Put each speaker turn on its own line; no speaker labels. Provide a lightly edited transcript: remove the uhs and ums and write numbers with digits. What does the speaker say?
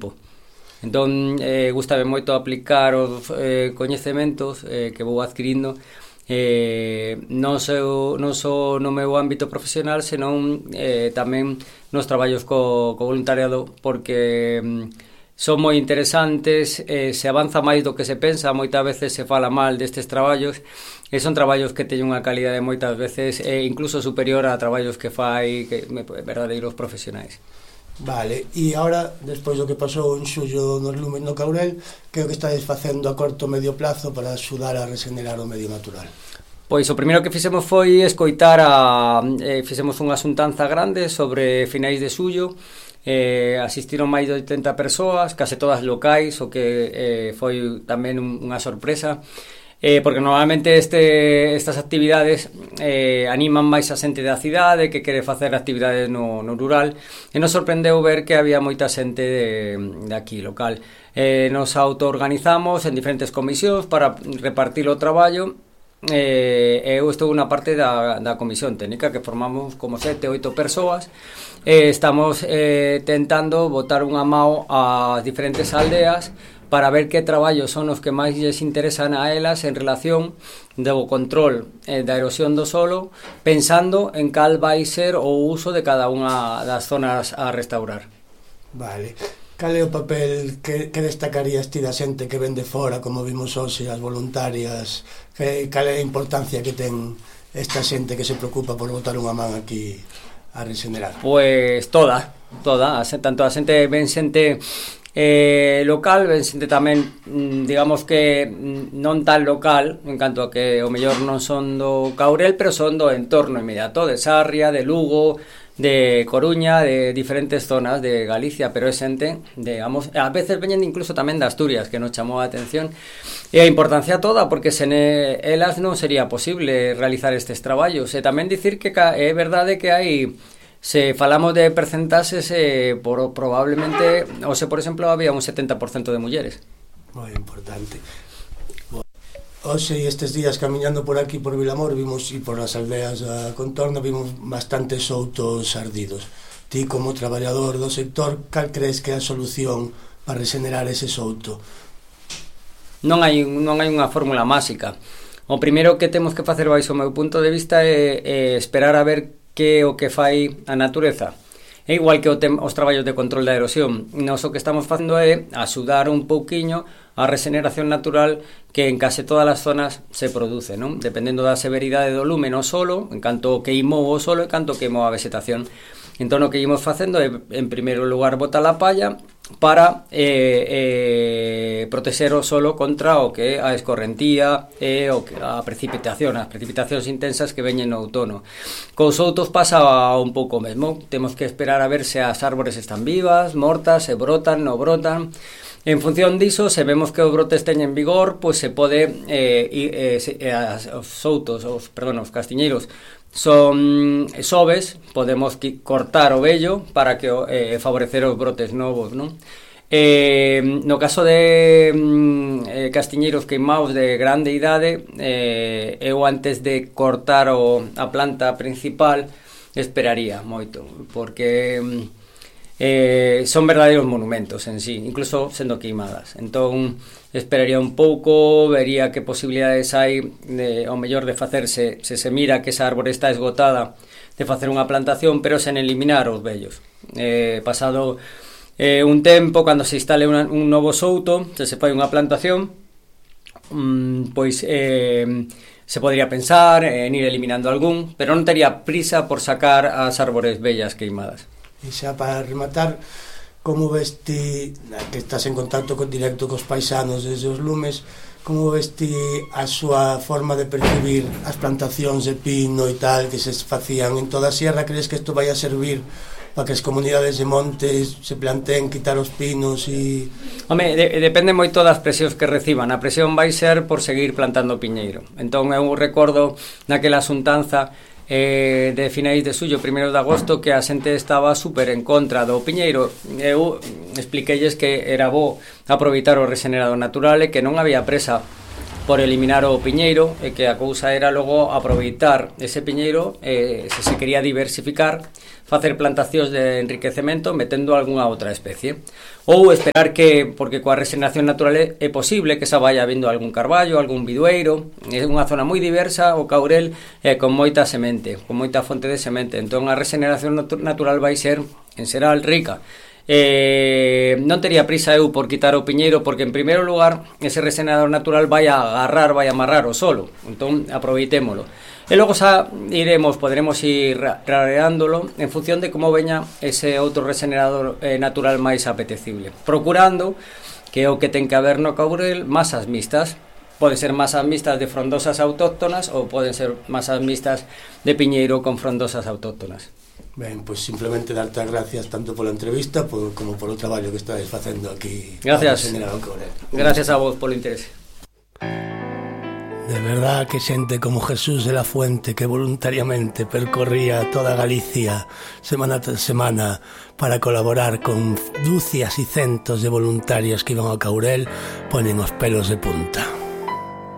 campo. Entón, gustame moito aplicar os coñecementos que vou adquirindo non só no meu ámbito profesional, senón tamén nos traballos co voluntariado, porque son moi interesantes, se avanza máis do que se pensa, moitas veces se fala mal destes traballos, e son traballos que teñen unha calidade moitas veces incluso superior a traballos que fai verdadeiros profesionais.
Vale, e agora, despois do que pasou en xullo nos lumes no Caurel, que é o que estáis facendo a corto medio plazo para axudar a regenerar o medio natural?
Pois o primeiro que fixemos foi escoitar fixemos unha xuntanza grande sobre finais de xullo. Asistiron máis de 80 persoas, case todas locais, o que foi tamén unha sorpresa, porque normalmente estas actividades animan máis a xente da cidade que quere facer actividades no rural, e nos sorprendeu ver que había moita xente de aquí local. Nos autoorganizamos en diferentes comisións para repartir o traballo. Eu estou unha parte da comisión técnica, que formamos como 7 ou 8 persoas. Estamos tentando botar unha mao ás diferentes aldeas para ver que traballos son os que máis lles interesan a elas en relación do control da erosión do solo, pensando en cal vai ser o uso de cada unha das zonas a restaurar.
Vale. Cal é o papel que destacarías ti da xente que ven de fora, como vimos hoxe, as voluntarias? Cal é a importancia que ten esta xente que se preocupa por botar unha man aquí a regenerar?
Pois toda, tanto a xente ven xente local, ven xente tamén, digamos que non tan local, en canto a que o mellor non son do Caurel, pero son do entorno inmediato, de Sarria, de Lugo, de Coruña, de diferentes zonas de Galicia, pero é xente, digamos, a veces veñen incluso tamén de Asturias, que nos chamou a atención, e a importancia toda, porque sen elas non sería posible realizar estes traballos. E tamén dicir que é verdade que hai, se falamos de percentaxes, probablemente, hoxe, por exemplo, había un 70% de mulleres.
Moi importante. Hoxe e estes días camiñando por aquí por Vilamor vimos, e por as aldeas da contorna, vimos bastantes outos ardidos. Ti, como traballador do sector, cal crees que é a solución para regenerar ese souto?
Non hai unha fórmula máxica. O primeiro que temos que facer, baixo o meu punto de vista, é esperar a ver que o que fai a natureza. É igual que os traballos de control da erosión. Nos o que estamos facendo é axudar un pouquiño a regeneración natural que en case todas as zonas se produce, non? Dependendo da severidade do lume no solo, en canto queimou o solo e canto queimou a vegetación. Entón o que ímos facendo é, en primeiro lugar, botar a palla para protexer o solo contra o que é a escorrentía e a precipitación, as precipitacións intensas que veñen no outono. Cos outos pasa un pouco mesmo. Temos que esperar a ver se as árbores están vivas, mortas, se brotan, non brotan. En función diso, se vemos que os brotes teñen vigor, pois se pode os castiñeiros son soves, podemos cortar o vello para que favorecer os brotes novos, non? No caso de castiñeiros queimados de grande idade, eu antes de cortar a planta principal esperaría moito, porque son verdadeiros monumentos en sí, incluso sendo queimadas. Entón esperaría un pouco, vería que posibilidades hai ao mellor de facerse, se mira que esa árbore está esgotada, de facer unha plantación, pero sen eliminar os vellos. Pasado un tempo, cando se instale un novo souto, se fai unha plantación, pois se podría pensar en ir eliminando algún, pero non tería prisa por sacar as árbores vellas queimadas.
E xa para rematar, como ves ti, que estás en contacto directo cos paisanos desde os lumes, como ves ti a súa forma de percibir as plantacións de pino e tal que se facían en toda a sierra? Crees que isto vai a servir para que as comunidades de montes se planteen quitar os pinos e...
Home, depende moito das presións que reciban. A presión vai ser por seguir plantando piñeiro. Entón eu recordo naquela xuntanza de finais de xullo, primeiros de agosto, que a xente estaba super en contra do piñeiro. Eu expliqueilles que era bo aproveitar o regenerado natural e que non había presa por eliminar o piñeiro, e que a cousa era logo aproveitar ese piñeiro, se quería diversificar, facer plantacións de enriquecemento metendo algunha outra especie, ou esperar que, porque coa regeneración natural é posible que xa vaya vindo algún carballo, algún bidueiro. É unha zona moi diversa, o Caurel con moita semente, con moita fonte de semente, entón a regeneración natural vai ser en xeral rica. Non tería prisa eu por quitar o piñeiro, porque en primeiro lugar ese regenerador natural vai a agarrar, vai a amarrar o solo, entón aproveitémolo, e logo xa poderemos ir rareándolo en función de como veña ese outro regenerador natural máis apetecible, procurando que o que ten que haber no Caurel masas mixtas. Poden ser masas mixtas de frondosas autóctonas ou poden ser masas mixtas de piñeiro con frondosas autóctonas.
Ben, pois simplemente darte as gracias tanto pola entrevista como polo traballo que estáis facendo aquí.
Gracias. Gracias a vos polo interese.
De verdad que xente como Jesús de la Fuente, que voluntariamente percorría toda Galicia semana tras semana para colaborar con dúcias e centos de voluntarios que iban ao Caurel, ponen os pelos de punta.